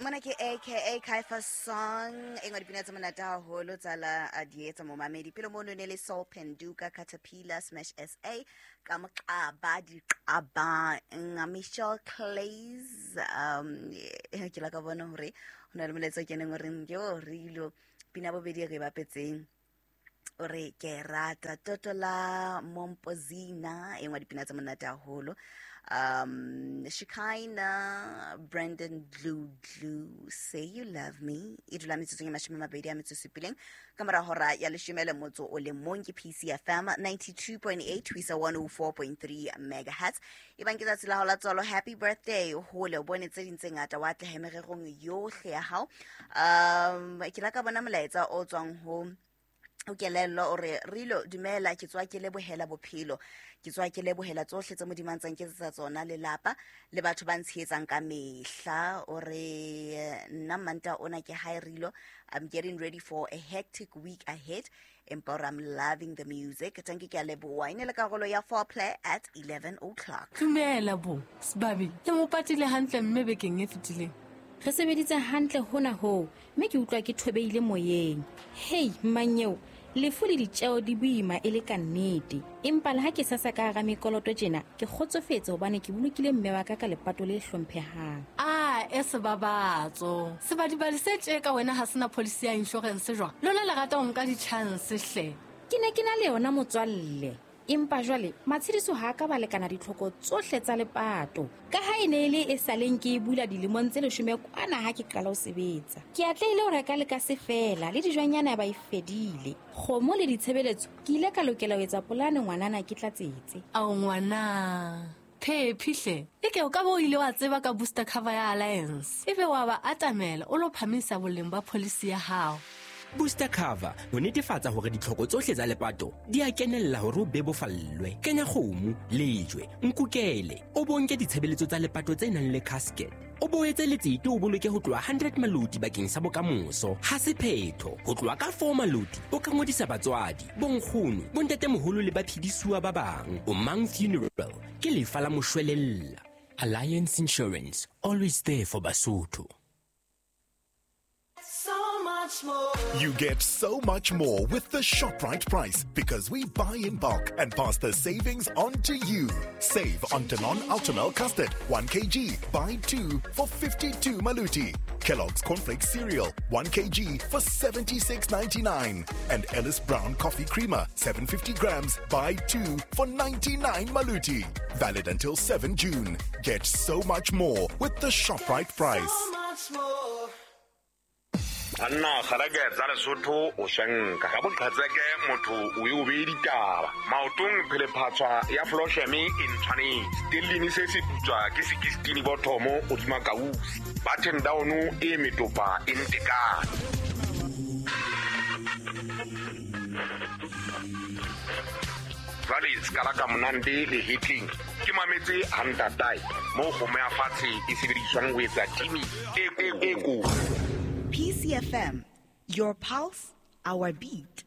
Mona ke aka Kaifa song e nngwe dipina tse monate haholo tsa la a di etsa momamedi pele mono ne le Soul Penduka Caterpillar Smash SA ka moqaba diqabang Michelle Clays. Ke la ka bona hore ho na le molaetsa o keneng o reng yo re ilo pina bobedi e re e bapetseng o re ke rata toto la Mompozina, e nngwe dipina tse monate haholo. Shikaina Brandon Glue Glue Say You Love Me e dula metsotsong e 20 a metso supileng ka mora hora ya leshome le motso o le mong. Ke PCFM 92.8 ho isa 104.3 megahertz. E bang ke tsatsi la hao la tswalo, happy birthday, hole o bone tse ding tse ngata, wa atlehe mererong yohle ya hao. Ke la ka bona molaetsa o tswang ho o kelello o re rilo dumela, ke tswa ke lebohela bophelo, ke tswa ke lebohela tsohle tse Modimo a ntsang ke etsetsa tsona, lelapa le batho ba ntshehetsang ka mehla. O re nna manta ona ke hi rilo, I'm getting ready for a hectic week ahead, empa ore I'm loving the music. Thank you, ke a leboha. E ne le karolo ya foreplay at 11 o'clock. Dumela bo sebabi, le mo patile hantle mme bekeng e fetileng. Re sebeditse hantle hona hoo, mme ke utlwa ke thobeile moyeng. Hei mmanyeo, lefu le ditjeo di boima e le ka nnete, empa le ha ke sasa ka hara mekoloto tjena, ke kgotsofetse hobane ke bolokile mme wa ka ka lepato le hlomphehang. A e sebabatso sebadibadi se tje ka wena ha sena policy ya insurance jwang? Lona le rata ho nka di-chance hle. Ke ne ke na le yona motswalle, empa jwale matshediso ha a ka ba lekana ditlhoko tsohle tsa lepato, ka ha e ne e le e saleng ke e bula dilemong tse 10 kwana ha ke qala ho sebetsa. Ke atlehile ho reka le ka se fela le dijwanyana ba e fedile, kgomo le ditshebeletso. Ke ile ka lokela ho etsa polane ngwanana ke tlatsetse. Ao ngwana phephi hle, e ke o ka bo o ile wa tseba ka booster cover ya Alliance, ebe wa ba atamela o lo phamisa boleng ba policy ya hao. Booster cover ho netefatsa hore ditlhoko tsohle tsa lepato di a kenella hore o bebofallwe. Kenya kgomo, lejwe, nkukele, o bonke ditshebeletso tsa lepato tse nang le casket, o boetse letsete o boloke ho tloha 100 maloti bakeng sa bokamoso. Ha se phetho ho tloha ka 4 maloti o ka ngodisa batswadi, bonkgono, bontatemoholo le baphedisuwa ba bang. O Mang Funeral ke lefa la moshwelella. Alliance Insurance, always there for Basotho. You get so much more with the ShopRite price because we buy in bulk and pass the savings on to you. Save on Danone Ultimel Custard, 1 kg, buy 2 for 52 Maluti. Kellogg's Cornflakes Cereal, 1 kg for 76.99. And Ellis Brown Coffee Creamer, 750 grams, buy 2 for 99 Maluti. Valid until 7 June. Get so much more with the ShopRite price. So much more. Banna kgalake tsa Lesotho o shenka ka boqhetseke motho o e o beye ditaba maotong phelephatswa ya flosheme e ntshwanetse stellini se se putswa ke 16 bothomo hodima kausi button down e metopa e ntekane. Jwale se ka la ka monande le hitling ke mametse hantatae moo kgomo ya fatshe e sebediswang ho etsa timi e ko. PCFM, your pulse, our beat.